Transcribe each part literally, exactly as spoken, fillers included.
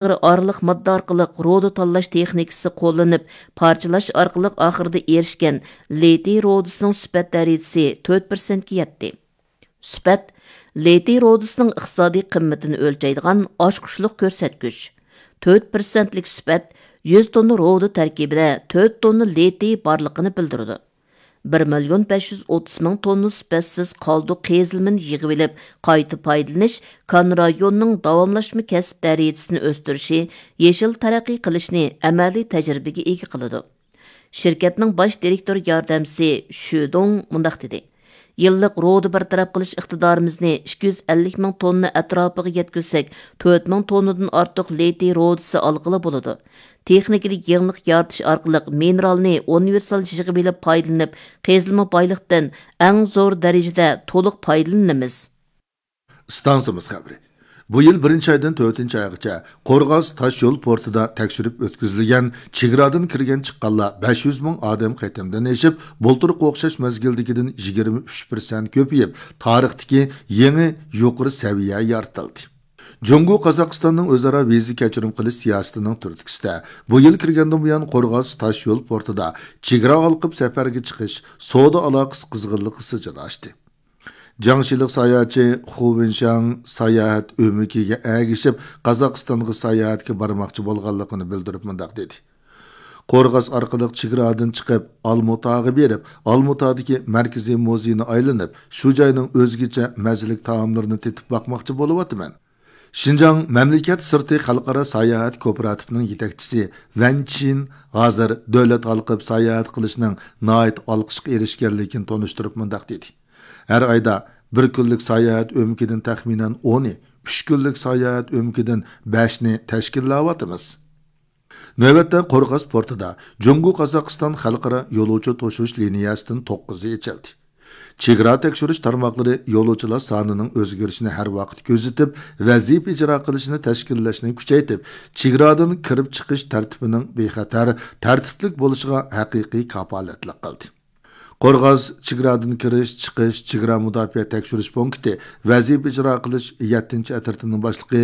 ئارىلىق ماددا ئارقىلىق رۇدا تاللاش تېخنىكىسى قوللىنىپ، پارچىلاش ئارقىلىق ئاخىرىدا ئېرىشكەن لىتىي رۇدىسىنىڭ سۈپەت دەرىجىسى تۆت پىرسەنتكە يەتتى. سۈپەت لىتىي رۇدىسىنىڭ ئىقتىسادىي قىممىتىنى ئۆلچەيدىغان ئاچقۇچلۇق كۆرسەتكۈچ. تۆت پىرسەنتلىك سۈپەت يۈز توننا رۇدا تەركىبىدە تۆت توننا لىتىي بارلىقىنى بىلدۈرىدۇ. بىر مىليون بەش يۈز ئوتتۇز مىڭ توننا سۈپەتسىز قالدۇق قېزىلمىنى يىغىۋېلىپ، قايتا پايدىلىنىش كان رايونىنىڭ داۋاملاشما كەسىپ دەرىجىسىنى ئۆستۈرۈشى، يېشىل تەرەققىي قىلىشنى ئەمەلىي تەجرىبىگە ئىگە قىلىدۇ. شىركەتنىڭ باش دىرېكتور ياردەمچىسى شۈ دۇڭ مۇنداق دېدى: يىللىق رۇدا بىر تەرەپ قىلىش ئىقتىدارىمىزنى ئىككى يۈز ئەللىك مىڭ توننا ئەتراپىغا يەتكۈزسەك، تۆت مىڭ توننىدىن ئارتۇق لىتىي رۇدىسى ئالغىلى بولىدۇ. تېخنىكىدا يېڭىلىق يارىتىش ئارقىلىق مىنېرالنى ئۇنىۋېرسال يىغىۋېلىپ پايدىلىنىپ، قېزىلما بايلىقتىن ئەڭ زور دەرىجىدە تولۇق پايدىلىنىمىز. ئىستانسىمىز خەۋىرى. بۇ يىل بىرىنچى ئايدىن تۆتىنچى ئايغىچە قورغاس تاش يول پورتىدا تەكشۈرۈپ ئۆتكۈزۈلگەن چېگرادىن كىرگەن چىققانلار بەش يۈز مىڭ ئادەم قېتىمدىن ئېشىپ، بۇلتۇرقى ئوخشاش مەزگىلدىكىدىن يىگىرمە ئۈچ پىرسەنت كۆپىيىپ، تارىختىكى يېڭى يۇقىرى سەۋىيە يارىتىلدى. جۇڭگو قازاقىستاننىڭ ئۆزئارا ۋىزا كەچۈرۈم قىلىش سىياسىتىنىڭ تۈرتكىسىدە، بۇ يىل كىرگەندىن بۇيان قورغاس تاش يول پورتىدا چېگرا ھالقىپ سەپەرگە چىقىش، سودا ئالاقىسى قىزغىنلىقى سىجىل ئاشتى. جاڭشىلىق ساياھەتچى خۇ ۋېنشاڭ ساياھەت ئۆمىكىگە ئەگىشىپ، قازاقىستانغا ساياھەتكە بارماقچى بولغانلىقىنى بىلدۈرۈپ مۇنداق دېدى: قورغاس ئارقىلىق چېگرادىن چىقىپ، ئالمۇتاغا بېرىپ، ئالمۇتادىكى مەركىزىي مۇزېينى ئايلىنىپ، شۇ جاينىڭ ئۆزگىچە مەززىلىك تائاملىرىنى تېتىپ باقماقچى بولۇۋاتىمەن. شىنجاڭ مەملىكەت سىرتى خەلقئارا ساياھەت كوپىراتىپىنىڭ يېتەكچىسى ۋەن چىن ھازىر دۆلەت ھالقىپ ساياھەت قىلىشنىڭ ناھايىتى ئالقىشقا ئېرىشكەنلىكىنى تونۇشتۇرۇپ مۇنداق دېدى: ھەر ئايدا بىر كۈنلۈك ساياھەت ئۆمىكىدىن تەخمىنەن ئونى، ئۈچ كۈنلۈك ساياھەت ئۆمىكىدىن بەشنى تەشكىللەۋاتىمىز. نۆۋەتتە قورغاس پورتىدا جۇڭگو قازاقىستان خەلقئارا يولۇچى توشۇش لىنىيەسىدىن توققۇزى ئېچىلدى. چېگرا تەكشۈرۈش تارماقلىرى يولۇچىلار سانىنىڭ ئۆزگىرىشىنى ھەر ۋاقىت كۆزىتىپ، ۋەزىپە ئىجرا قىلىشنى تەشكىللەشنى كۈچەيتىپ، چېگرادىن كىرىپ چىقىش تەرتىپىنىڭ بىخەتەر، تەرتىپلىك بولۇشىغا ھەقىقىي كاپالەتلىك قىلدى. قورغاس چېگرادىن كىرىش، چىقىش، چېگرا مۇداپىئە تەكشۈرۈش پونكىتى ۋەزىپە ئىجرا قىلىش يەتتىنچى ئەترىتىنىڭ باشلىقى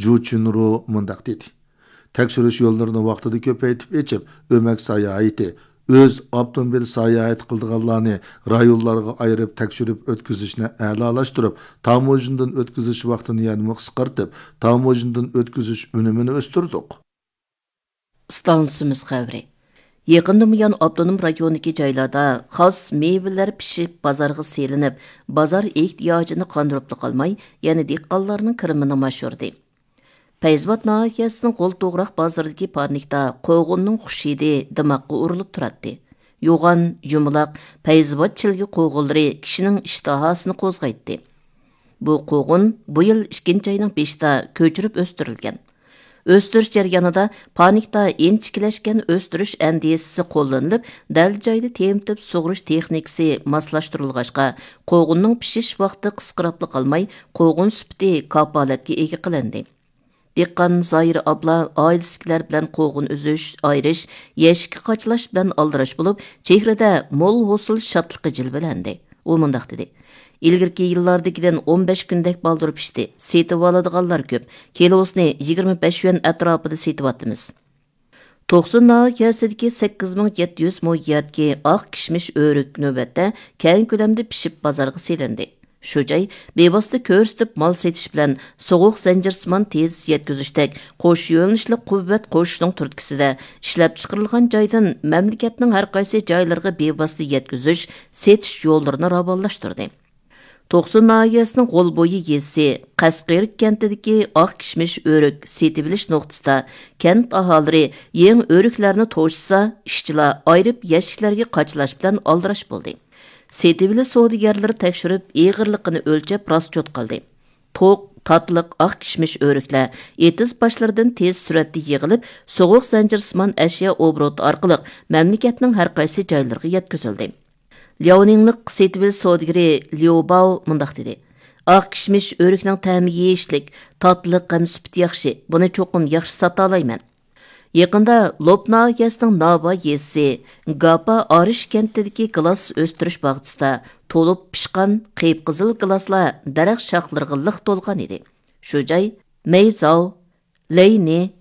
جۇ چۈنرۇ مۇنداق دېدى: تەكشۈرۈش يوللىرىنى ۋاقتىدا كۆپەيتىپ ئېچىپ، ئۆمەك ساياھىتى، ئۆز ئاپتوموبىل ساياھەت قىلىدىغانلارنى رايونلارغا ئايرىپ تەكشۈرۈپ ئۆتكۈزۈشنى ئەلالاشتۇرۇپ، تاموژنىدىن ئۆتكۈزۈش ۋاقتىنى يەنىمۇ قىسقارتىپ، تاموژنىدىن ئۆتكۈزۈش ئۈنۈمىنى ئۆستۈردۇق. ئىستانسىمىز خەۋىرى. يېقىندىن بۇيان ئاپتونوم رايوندىكى جايلاردا خاس مېۋىلەر پىشىپ بازارغا سېلىنىپ، بازار ئېھتىياجىنى قاندۇرۇپلا قالماي، يەنە دېھقانلارنىڭ كىرىمىنىمۇ ئاشۇردى. پەيزىۋات ناھىيەسىنىڭ غول توغراق بازىرىدىكى پارنىكتا قوغۇننىڭ خۇش ھىدى دىماغقا ئۇرۇلۇپ تۇراتتى. يوغان، يۇمىلاق، پەيزىۋات چىلگە قوغۇنلىرى كىشىنىڭ ئىشتىھاسىنى قوزغايتتى. بۇ قوغۇن بۇ يىل ئىككىنچى ئاينىڭ بېشىدا كۆچۈرۈپ ئۆستۈرۈلگەن. ئۆستۈرۈش جەريانىدا پانىكتا ئىنچىكىلەشكەن ئۆستۈرۈش ئەندىزىسى قوللىنىلىپ، دەل جايدا تېمىتىپ سۇغۇرۇش تېخنىكىسى ماسلاشتۇرۇلغاچقا، قوغۇننىڭ پىشىش ۋاقتى قىسقىراپلا قالماي، قوغۇن سۈپىتى كاپالەتكە ئىگە قىلىندى. دېھقان زاھىر ئابلا ئائىلىسىدىكىلەر بىلەن قوغۇن ئۈزۈش، ئايرىش، يەشىككە قاچىلاش بىلەن ئالدىراش بولۇپ، چېھرىدە مول ھوسۇل شادلىقى جىلۋىلەندى. ئۇ مۇنداق دېدى: ئىلگىرىكى يىللاردىكىدىن ئون بەش كۈندەك بالدۇر پىشتى. سېتىۋالىدىغانلار كۆپ. كىلوسىنى يىگىرمە بەش يۈەن ئەتراپىدا سېتىۋاتىمىز. توقسۇن ناھىيەسىدىكى سەككىز مىڭ يەتتە يۈز مو يەردىكى ئاق كىشمىش ئۆرۈك نۆۋەتتە كەڭ كۆلەمدە پىشىپ بازارغا سېلىندى. شۇ جاي بىۋاسىتە كۆرسىتىپ مال سېتىش بىلەن سوغۇق زەنجىرسىمان تېز يەتكۈزۈشتەك قوش يۆنىلىشلىك قۇۋۋەت قوشۇشنىڭ تۈرتكىسىدە، ئىشلەپچىقىرىلغان جايدىن مەملىكەتنىڭ ھەرقايسى جايلىرىغا بىۋاسىتە يەتكۈزۈش، سېتىش يوللىرىنى راۋانلاشتۇردى. توقسۇن ناھىيەسىنىڭ غول بويى يېزىسى قەسقىرىك كەنتىدىكى ئاق كىشمىش ئۆرۈك سېتىۋېلىش نۇقتىسىدا كەنت ئاھالىلىرى يېڭى ئۆرۈكلەرنى توشۇسا، ئىشچىلار ئايرىپ يەشىكلەرگە قاچىلاش بىلەن ئالدىراش بولدى. سېتىۋېلىش سودىگەرلىرى تەكشۈرۈپ، ئېغىرلىقىنى ئۆلچەپ راسچوت قىلدى. توق، تاتلىق، ئاق كىشمىش ئۆرۈكلەر ئېتىز باشلىرىدىن تېز سۈرئەتتە يىغىلىپ، سوغۇق زەنجىرسىمان ئەشيا ئوبوروتى ئارقىلىق مەملىكەتنىڭ ھەرقايسى جايلىرىغا يەتكۈزۈلدى. لياۋنىڭلىق سېتىۋېلىش سودىگىرى ليۇ باۋ مۇنداق دېدى: ئاق كىشمىش ئۆرۈكنىڭ تەمى يېيىشلىك، تاتلىق ھەم سۈپىتى ياخشى، بۇنى چوقۇم ياخشى ساتالايمەن. يېقىندا لوپ ناھىيەسىنىڭ ناۋا يېزىسى گاپا ئارىش كەنتىدىكى گىلاس ئۆستۈرۈش باغچىسىدا تولۇپ پىشقان قىپقىزىل گىلاسلار دەرەخ شاخلىرىغا لىق تولغان ئىدى. شۇ جاي مەيزاۋ، لەينى،